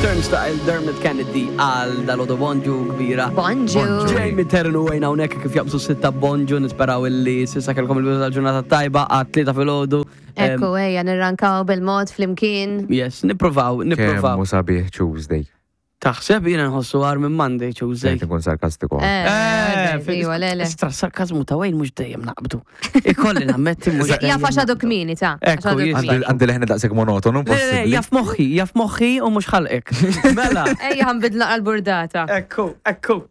Turnstile, Dermot Kennedy għal dal-għodu bonġu kbira. Bonġu. Jamie Terren u Wayne hawnhekk kif jaqbżu sitta bonġu nisperaw illi sissa kellkom il-bidu tal-ġurnata tajba għat tlieta filgħodu. Ekku, ejja, nirrankaw bil-mod flimkien. Yes, nippruvaw, nippruvaw. Kemm hu sabiħ Tuesday. Taħseb jiena nħossu għar minn Monday, Tuesday. Qed inkun sarkastiku. Eh, eh, iva, le, le. Istra sarkazmu ta' Wayne mhux dejjem naqbdu. Ikolli nammetti mhux dejjem. Jaf għax għadu kmieni ta' Ekku, għax għadu jista' kmieni. Għandi leħni daqshekk monotonu, Le, le, possibbli. jaf moħħi, jaf moħħi u mhux ħalqek. Mela. Ejja ħanbidlu naqra l-burdata. Ekku, ekku.